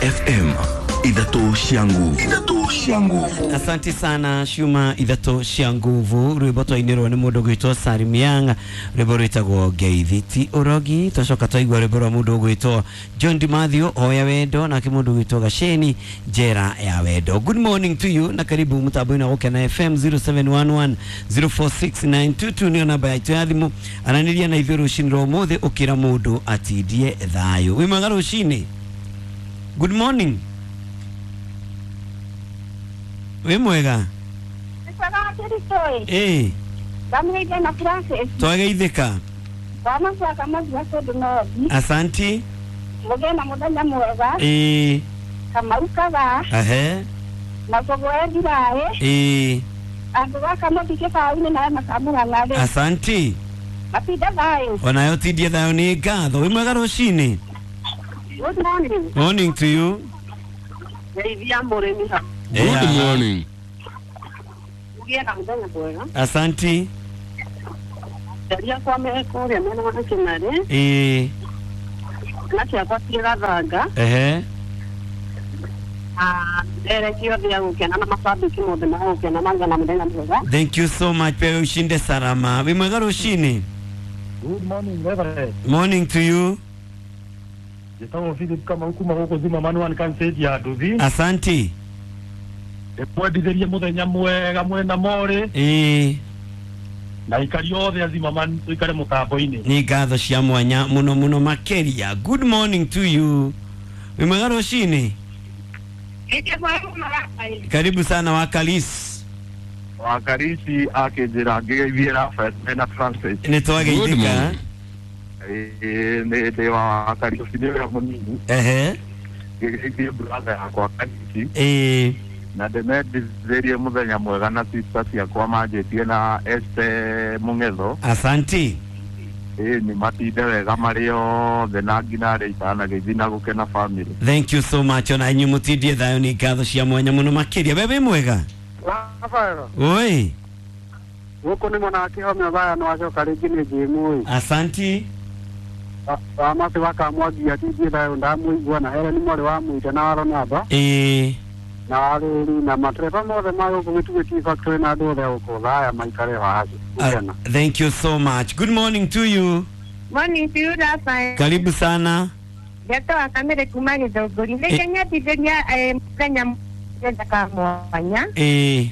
FM ithatũ cia nguvu. Ithatũ cia nguvu. Asante sana Shuma ithatũ cia nguvu. Rwĩmbo twainĩrwo nĩ mũndũ ũgwĩtwo Salim Young, rwĩmbo rwĩtagwo Ngeithi ti ũrogi. Twacoka twaigua rwĩmbo rwa mũndũ ũgwĩtwo John Di Mathew Hoya Wendo, nake mũndũ ũgwĩtwo Gaceni Njera ya Wendo. Good morning to you na karibu mũtambo-inĩ wa Gũkena FM. 0711 046922 nĩyo namba yaitũ ya thimũ. Aranĩria na ithuĩ rũcinĩ rwa ũmũthĩ ũkĩra mũndũ atindie thayũ. Wĩ mwega rũcinĩ? Good morning. Wĩ mwega? Ĩĩ. Ndamũgeithia na Francis. Twageithĩka. Wamacaka mathia kũndũ nothi. Asanti. Mũgĩe na mũthenya mwega. Ĩĩ. Kamau Kagaa. Ahe. Na Kũgwe Ndiraĩ. Ĩĩ. Andũ gaka mũthi kĩbaũ-inĩ na makamũrang'arĩ. Asanti. Matinda thayũ. Onayo tindie thayũ nĩ ngatho. Wĩ mwega rũcinĩ? Good morning. Morning to you. Ngeithia mũrĩmi ha. Good morning. Mũgĩe na mũthenya mwega. Asanti. Aciari akwa me kũrĩa mwena wa Kĩmarĩ. Ĩĩ. Na ciakwa ciĩ Gathanga. Ehe. Ndereki othe a gũkena na macambĩki mothe ma gũkena magĩa na mũthenya mwega. Thank you so much. Pia ushinde salama. Wĩ mwega rũcinĩ? Good morning, Reverend. Morning to you. Njĩtagwo Philip Kamau kuma gũkũ Zima Manuan Kansage ya Nduthi. Asanti. Ndĩmwendithĩrie mũthenya mwega mwena morĩ. Ĩĩ. Na aikari othe a Zimmerman tũikare mũtambo-inĩ. Nĩ ngatho cia mwanya mũno mũno makĩria. Good morning to you. Wĩ mwega rũcinĩ? Karibu sana Wakalis. Wakarisi akĩnjĩra ngĩgeithie Rafael mena Francis. Nĩ twageithĩka. Ĩĩ nĩ ndĩ wa Wakarisi nĩ ũrĩa mũnini. Ehe. Ngĩgeithie brother yakwa Karisi. Ĩĩ. Na ndĩmendithĩrie mũthenya mwega na sister ciakwa manjĩtie na Esther Mũng'etho. Asanti. Ĩĩ nĩ matinde wega marĩ othe na nginya arĩa itanagĩthiĩ na gũkena family. Thank you so much. Ona inyuĩ mũtindie thayũ nĩ ngatho cia mwanya mũno makĩria. We wĩ mwega? Rafael. Oi. Gũkũ nĩ mwena wa Kĩhomyo thaya nĩ wacoka rĩngĩ nĩ Jĩmũĩ. Asanti. Wamacĩ wakamwangia atindie thayũ ndamũigua na Helen mwarĩ wa Mũita na wa Ronaldo. Ĩĩ. Na warĩri na matereba mothe ma gũkũ Gĩtugĩ Tea Factory na andũ othe a gũkũ thaya maikare waci. Thank you so much. Good morning to you. Morning to you, Rafael. Karibu sana. Ndeto wa kamere kuma Gĩthũngũri. Nĩ ngenyendithĩria mũthenya mwega ka mwanya. Ĩĩ.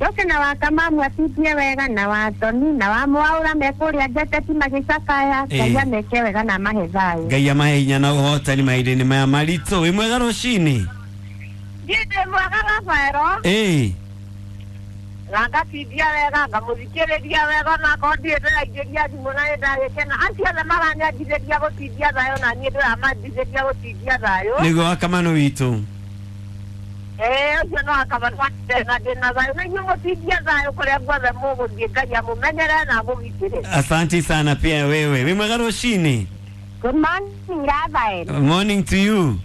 Njoke na wakamamu atindie wega na watoni na wa mwaũra me kũrĩa njeteti magĩcakaya. Ngai ameke wega na amahe thayũ. Ngai amahe hinya na ũhotani mahinda-inĩ maya maritũ. Wĩ mwega rũcinĩ? Niĩ ndĩ mwega Rafael. Ĩĩ. Na ngatindia wega ngamũthikĩrĩria wega onakorwo ndirĩ ndĩraingĩria thimũ na nĩndagĩkena. Acio othe maranyendithĩria gũtindia thayũ na niĩ ndĩramendithĩria gũtindia thayũ. Nĩguo wakamano witũ. Ĩĩ ũcio no wakamano na ndĩna thayũ na inyuĩ mũtindie thayũ kũrĩa guothe mũgũthiĩ. Ngai amũmenyere na amũgitĩre. Asante sana pia wewe. Wĩ mwega rũcinĩ? Good morning, Rafael. Morning to you.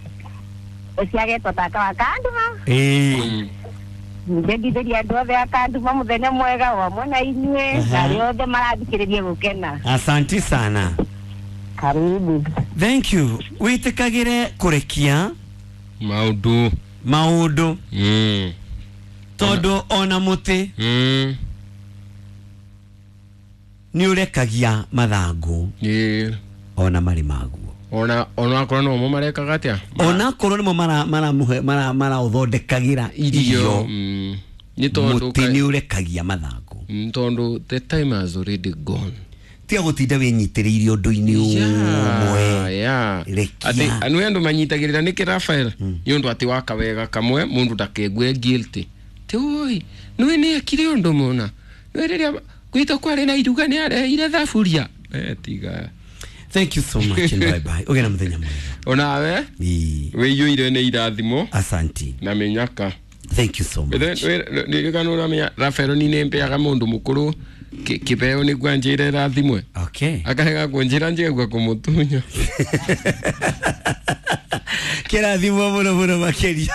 Ũciagetwo tata wa Kanduma. Ĩĩ. Ndendithĩria andũ othe a Kanduma mũthenya mwega o hamwe na inyuĩ na arĩa othe marathikĩrĩria gũkena. Asante sana. Karibu. Thank you. Wĩtĩkagĩre kũrekia maũndũ. Maũndũ. Tondũ ona mũtĩ nĩ ũrekagia mathangũ. Ĩĩ. Ona marĩ maguo. Ona onakorwo no mo marekaga atĩa? Onakorwo nĩmo maraũthondekagĩra irio. Nĩ tondũ mũtĩ nĩ ũrekagia mathangũ. Tondũ the time has already gone. Tiga gũtinda wĩnyitĩrĩire ũndũ-inĩ ũmwe. Rekia. Atĩ anũ andũ manyitagĩrĩra nĩkĩ Rafael? Nĩ ũndũ atĩ waka wega kamwe mũndũ ndakegue guilty. Ti oi, nĩwe nĩ ekire ũndũ mũna. Nĩwe rĩrĩa gwitũ kwarĩ na iruga nĩ areheire thaburia. Tiga. Thank you so much and bye bye. Ũgĩe na mũthenya mwega. Onawe? Wĩiyũire nĩ irathimo. Asanti. Na mĩnyaka. Thank you so much. Ndirikana ũramenya Rafael ni nĩ mbeaga mũndũ mũkũrũ kĩbeo nĩguo anjĩre irathimwe. Okay. Akarega kũnjĩra njigua kũmũtunya. Kĩrathimwo mũno mũno makĩria.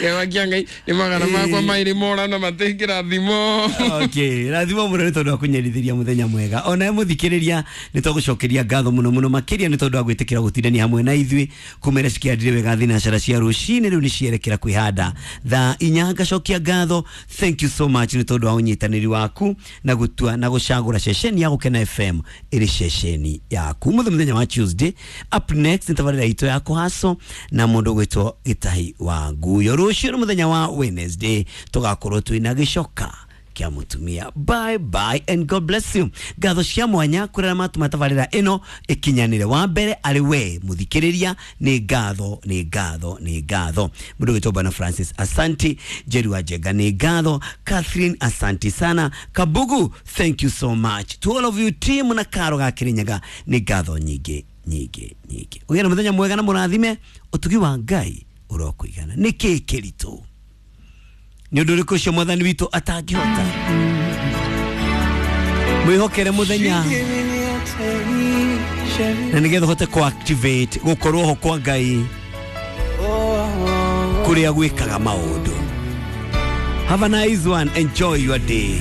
Kĩeha kĩa Ngai nĩ magana makwa maĩrĩ mora na matingĩrathimo. Okay, rathimo muno nĩ tondũ wa kũnyendithĩria mũthenya mwega. Onawe mũthikĩrĩria, nĩ tũgũcokeria ngatho mũno mũno makĩria nĩ tondũ wa gwĩtĩkĩra gũtindania hamwe na ithuĩ kumĩra cikĩandire wega thinacara cia rũcinĩ. Rĩu nĩ cierekera kwĩhanda thaa 4. Ngacokia ngatho, thank you so much nĩ tondũ wa ũnyitanĩri waku na gũtua na gũcagũra ceceni ya Gũkena FM ĩrĩ ceceni yaku mũthĩ mũthenya wa Tuesday. Up next nĩ tabarĩra itũ ya kũhaco na mũndũ ũgwĩtwo Gĩtahi wa Nguyo. Rũciũ nĩ mũthenya wa Wednesday, tũgakorwo twĩna gĩcoka kĩa mũtumia. Bye bye and God bless you. Ngatho cia mwanya kũrĩa matuma tabarĩra ĩno ĩkinyanĩre. Wa mbere arĩ we mũthikĩrĩria, nĩ ngatho, nĩ ngatho, nĩ ngatho. Mũndũ wĩtwo Bwana Francis, asanti. Jerry wa Njenga, nĩ ngatho. Catherine, asanti sana. Kabugu, thank you so much. To all of you, team na karo ga Kirinyaga, nĩ ngatho nyingĩ nyingĩ nyingĩ. Ũgĩe na mũthenya mwega na mũrathime. Ũtugi wa Ngai ũrokũigana. Nĩ kĩĩ kĩritũ? Nĩ ũndũ ũrĩkũ ũcio Mwathani witũ atangĩhota? Mwĩhokere mũthenya na nĩgetha ũhote kũ-activate gũkorwo ho kwa Ngai kũrĩa gwĩkaga maũndũ. Have a nice one, enjoy your day.